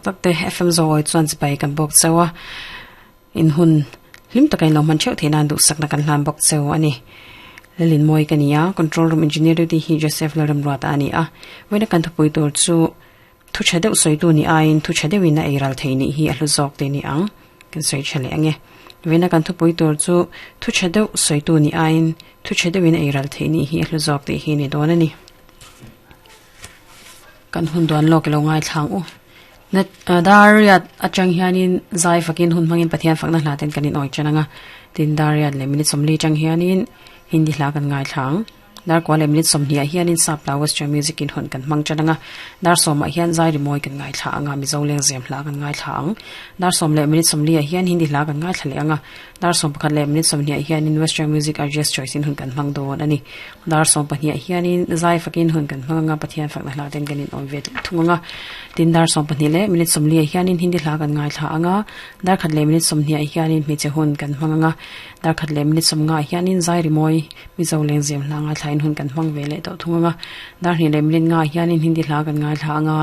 tak te FM Zoawi chuan chibai kan bawk cheu a, in hun hlim taka in lo hman theuh theih nan duhsakna kan hlan bawk cheu a ni. Lalin mawi ka ni a, Control Room Engineer duty hi Joseph Lalremruata a ni a, vawiina kan thupui tur chu thu tha deuh sawitu ni aiin thu tha deuhin a eiral thei nih hi a hlu zawk te ni ang kan sawi tha leh ang e. Vawiina kan thupui tur chu thu tha deuh sawitu ni aiin thu tha deuhin a eiral thei nih hi a hlu zawk tih hi ni dawn a ni. Kan hun duan lawk ilo ngaithla ang u. Dariat atang hianin zai fakin hun hmangin Pathian fakna hla ten kan inawi ṭan ang a. Tin Dariat leh minute 40 atang hianin Hindi hla kan ngaithla ang. Dar kua leh minute 20 ah hianin Sap hla Western music in hun kan hmang ṭan ang a. Dar sawmah hian zai rimawi kan ngaithla ang a, Mizo lengzem hla kan ngaithla ang. Dar sawm leh minute 40 ah hian Hindi hla kan ngaithla leh ang a. Dar 11 leh minute 20 ah hianin Western music RJ's Choice in hun kan hmang dawn a ni. Dar 12 ah hianin zai fakin hun kan hmang anga Pathian fakna hla ten kan inawm ve thung anga. Tin dar 12 leh minute 40 ah hianin Hindi hla kan ngaithla anga, dar khat leh minute 20 ah hianin hmeichhe hun kan hmang anga, dar khat leh minute 50 ah hianin zai rimawi Mizo lengzem hla ngaithlain hun kan hmang ve leh tawh thung anga, dar hnih leh minute 5 ah hianin Hindi hla kan ngaithla anga.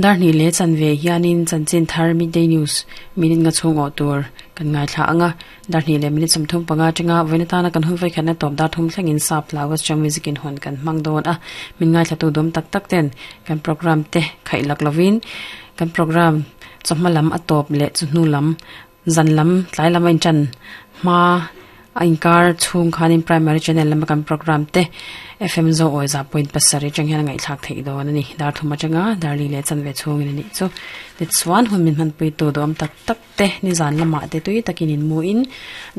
Dar hnih leh chanve hianin chanchin thar Midday News minute nga chhung awh tur kan ngaithla ang a, dar hnih leh minute 35 atanga vawiin atana kan hun vawikhatna tawp dar thum thlengin sap hla Western Music in hawn kan hmang dawn a, min ngaithlatu dawm tak tak ten kan program te khaih lak lovin kan program chawhma lam a tawp leh chu hnu lam zan lam tlai lam a intan hma a inkar chhung khanin primary channel lama kan program te FM zo awi za point pasarih atang hian a ngaihthlak theih dawn a ni. Dar thum atanga dar li leh chanve chhungin a nih chu. Tichuan hun min hmanpui tu duhawm tak tak te nizan lamah te tui takin in mu in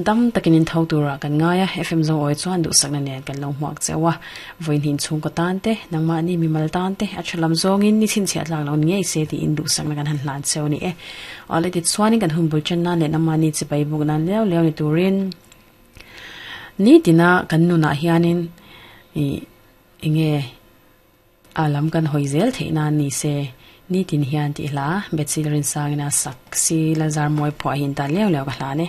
dam takin in tho turah kan ngai a, FM zo awi chuan duhsakna nen kan lo hmuak cheu a. Vawiin chhungkaw tan te, nangmahni mimal tan te a tha lam zawngin ni chhinchhiah tlak lo ni ngei se tiin duhsakna kan han hlan cheu a ni e. Awle tichuanin kan hun bul chen nan leh nangmahni chipai buk nan leu leu ni turin nitina kan nunah hianin ih enge a lam kan hawi zel theih nan ni se nitin hian tih hla Bethsy Larinsangina sak si Lazar Mawi phuah hi in tan leu leu ka hlan e.